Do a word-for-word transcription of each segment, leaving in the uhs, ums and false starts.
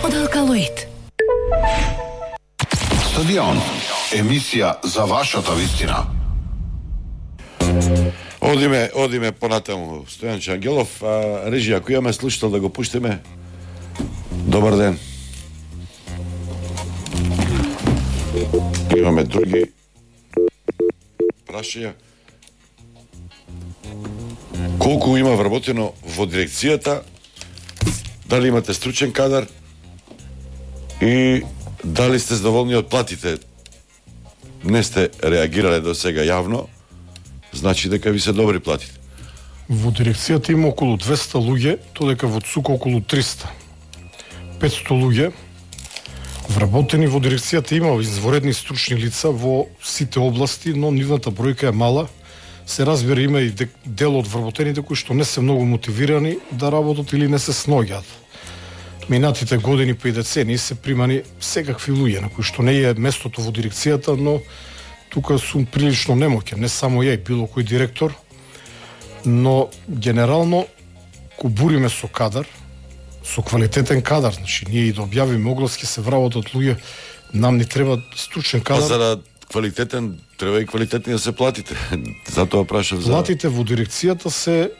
од Алкалоид. Стадион, емисија за вашата вистина. Одиме, одиме понатаму. Стојанче Ангелов, а, режи, ако имаме слушател да го пуштиме. Добар ден. Имаме други прашања. Колку има вработено во дирекцијата? Дали имате стручен кадар? И дали сте задоволни од платите? Не сте реагирале до сега јавно, значи дека ви се добри платите. Во дирекцијата има околу двеста луѓе, додека во ЦУК околу триста. петсто луѓе. Вработени во дирекцијата има изворедни стручни лица во сите области, но нивната бројка е мала. Се разбира, има и дел од вработените кои што не се многу мотивирани да работат или не се сноѓаат. Минатите години па и децении се примани секакви луѓе на кои што не е местото во дирекцијата, но тука сум прилично немоќен, не само ја и било кој директор, но генерално ко буриме со кадар, со квалитетен кадар, значи ние и да објавиме оглас ќе се вработат луѓе, нам ни треба стручен кадар. Па за да квалитетен треба и квалитетни да се платите. Затоа прашав за платите во дирекцијата се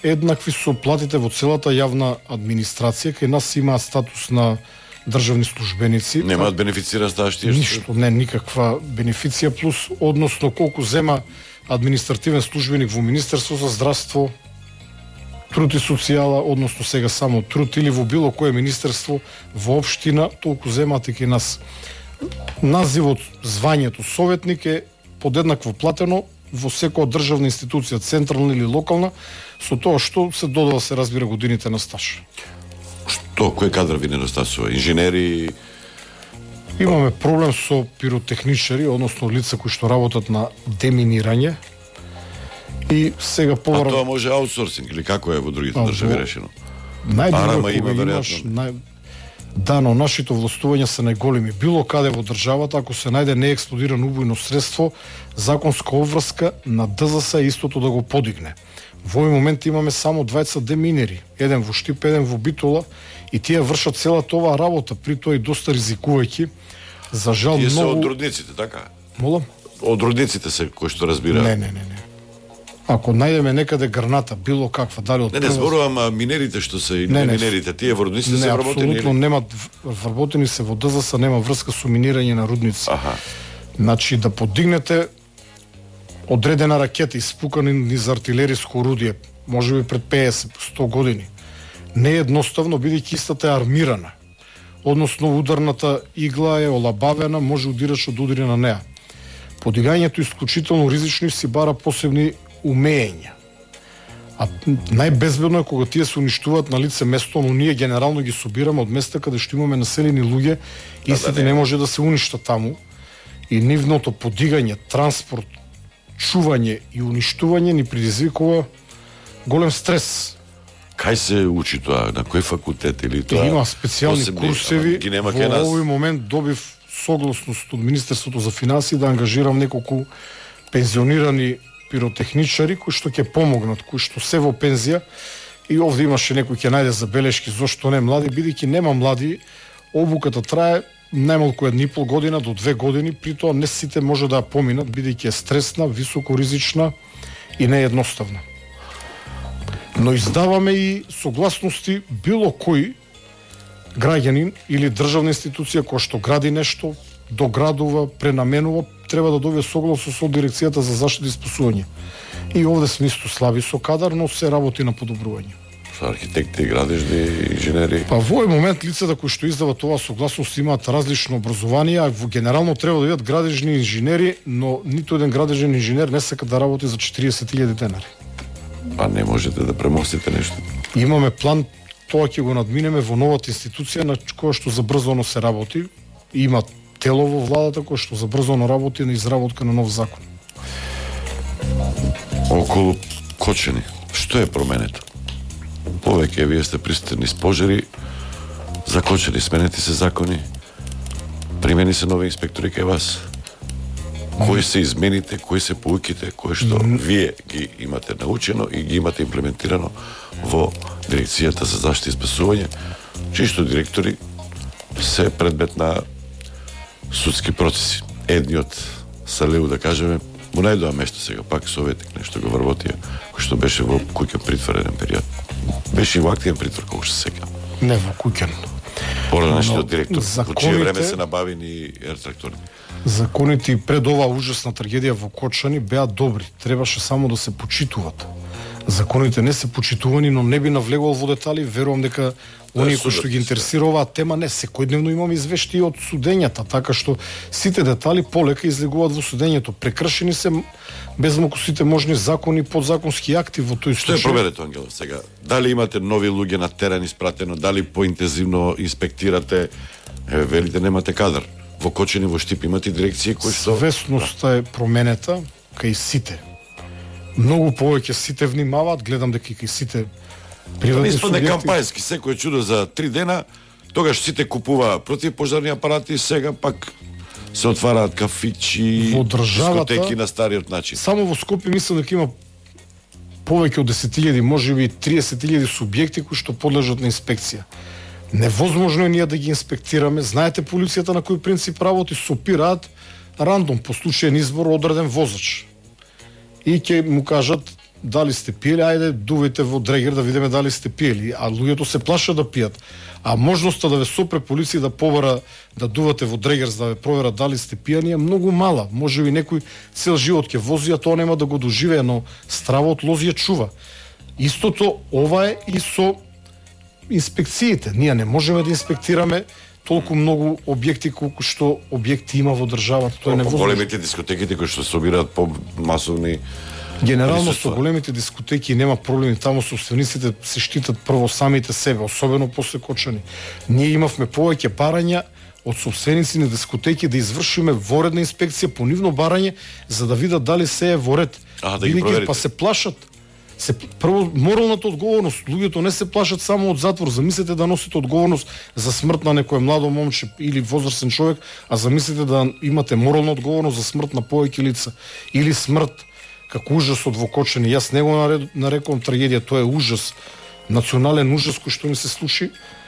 еднакви со платите во целата јавна администрација, кај нас имаат статус на државни службеници. Немаат бенефициран стаж тие? Ништо, не никаква бенефиција, плюс односно колку зема административен службеник во Министерство за здравство, труд и социјала, односно сега само труд, или во било кое министерство во општина, толку земаат и кај нас. Називот, звањето советник е подеднакво платено во секоја државна институција, централна или локална, со тоа што се додава, се разбира, годините на стаж. Што, кој кадар ви недостасува? Инженери? Имаме проблем со пиротехничари, односно лица кои што работат на деминирање. И сега поврат... А тоа може аутсорсинг или како е во другите држави решено? Најдобро има веројатно. Нај... Да, но нашите властувања се најголеми. Било каде во државата, ако се најде неексплодирано убојно средство, законска обврска на ДЗС е истото да го подигне. Во овој момент имаме само дваесет деминери, еден во Штип, еден во Битола, и тие вршат целата оваа работа, при тоа и доста ризикувајќи. За жал тие многу... се од рудниците, така? Молам? Од рудниците се, кои што разбира. Не, не, не, не. Ако најдеме некаде граната, било каква, дали од... Не, не зборувам минерите што се, не, не минерите, тие во рудниците не, се вработени? Не, апсолутно немат вработени се во ДЗС, нема врска со минирање на рудници. Аха. Значи, да подигнете одредена ракета испукани низ артилериско орудие, може би пред петдесет до сто години, не е едноставно, бидејќи истата е армирана. Односно, ударната игла е олабавена, може удирач да удари на неа. Подигањето е исклучително ризично и си бара посебни умења. А најбезбедно е кога тие се уништуваат на лице место, но ние генерално ги собираме од места каде што имаме населени луѓе, истите да, да, не може да се уништат таму. И нивното подигање, транспорт, чување и уништување ни предизвикува голем стрес. Кај се учи тоа? На кој факултет или тоа? Има специјални посебни, курсеви. Во овој момент добив согласност од Министерството за финансии да ангажирам неколку пензионирани пиротехничари кои што ќе помогнат, кои што се во пензија, и овде имаше некој ќе најде забелешки зошто не млади, бидејќи нема млади, обуката трае најмалку една и пол година до две години, при тоа не сите може да ја поминат, бидејќи е стресна, високо ризична и не едноставна. Но издаваме и согласности било кој граѓанин или државна институција која што гради нешто, доградува, пренаменува, треба да добие согласност со дирекцијата за заштита и спасување. И овде сме исто слаби со кадар, но се работи на подобрување. Со архитекти, градежни, инженери. Па во овој момент лицата кои што издават оваа согласност имаат различно образование, а генерално треба да бидат градежни инженери, но ниту еден градежен инженер не сака да работи за четириесет илјади денари. А не можете да премостите нешто? Имаме план, тоа ќе го надминеме во новата институција на која што забрзано се работи. Има тело во владата кој што забрзано работи на изработка на нов закон. Околу Кочани, што е променето? Повеќе вие сте пристани с пожари, за Кочани сменети се закони, примени се нови инспектори кај вас. Кои се измените, кои се поуките, кои што вие ги имате научено и ги имате имплементирано во дирекцијата за заштита и спасување, чии што директори се предмет на судски процеси. Едниот Салеу, да кажеме, му најдоа место сега, пак советник нешто го вработија, кој што беше во куќен притвор еден период. Беше и во активен притвор, колку што сега. Не во куќен. Поранешниот директор, законите, во чие време се набавени ертракторни. Законите и пред оваа ужасна трагедија во Кочани беа добри. Требаше само да се почитуваат. Законите не се почитувани, но не би навлегувал во детали. Верувам дека оние кои што ги интересира оваа тема, не секојдневно имаме извештаи од судењата, така што сите детали полека излегуваат во судењето. Прекршени се безмалку сите можни закони и подзаконски акти во тој случај. Што е проверето, Ангелов, сега? Дали имате нови луѓе на терен испратено, дали поинтензивно инспектирате, еве велите немате кадар. Во Кочани, во Штип имате дирекции кои што свесноста е променета кај сите. Многу повеќе сите внимаваат, гледам дека и кај сите приватни субјекти. субјекти. Кампањски, секој чудо за три дена, тогаш сите купува противпожарни апарати, сега пак се отвараат кафичи, во државата, дискотеки на стариот начин. Само во Скопје мислам дека има повеќе од десет илјади, можеби триесет илјади субјекти кои што подлежат на инспекција. Невозможно е ние да ги инспектираме. Знаете полицијата на кој принцип работи? Сопираат рандом по случаен избор одреден возач. И ќе му кажат дали сте пиели, ајде дувајте во дрегер да видиме дали сте пиели, а луѓето се плашат да пијат. А можноста да ве сопре полиција да побара да дувате во дрегер за да ве проверат дали сте пијани е многу мала. Можеби некој цел живот ќе вози, а тоа нема да го доживее, но стравот лозија чува. Истото ова е и со инспекциите. Ние не можеме да инспектираме толку многу објекти колку што објекти има во државата. Тоа е невозможно. Големите дискотеките кои што собираат по масовни Генерално со големите дискотеки нема проблеми, таму собствениците се штитат прво самите себе, особено после Кочани. Ние имавме повеќе барања од собственици на дискотеки да извршиме воредна инспекција по нивно барање за да видат дали се е во ред. А, да ги проверите. Па се плашат. Се прво моралната одговорност, луѓето не се плашат само од затвор, замислете да носите одговорност за смрт на некој младо момче или возрастен човек, а замислете да имате морална одговорност за смрт на повеќе лица или смрт како ужасот во Кочани. Јас не го нарекувам трагедија, тоа е ужас, национален ужас кој што ни се случи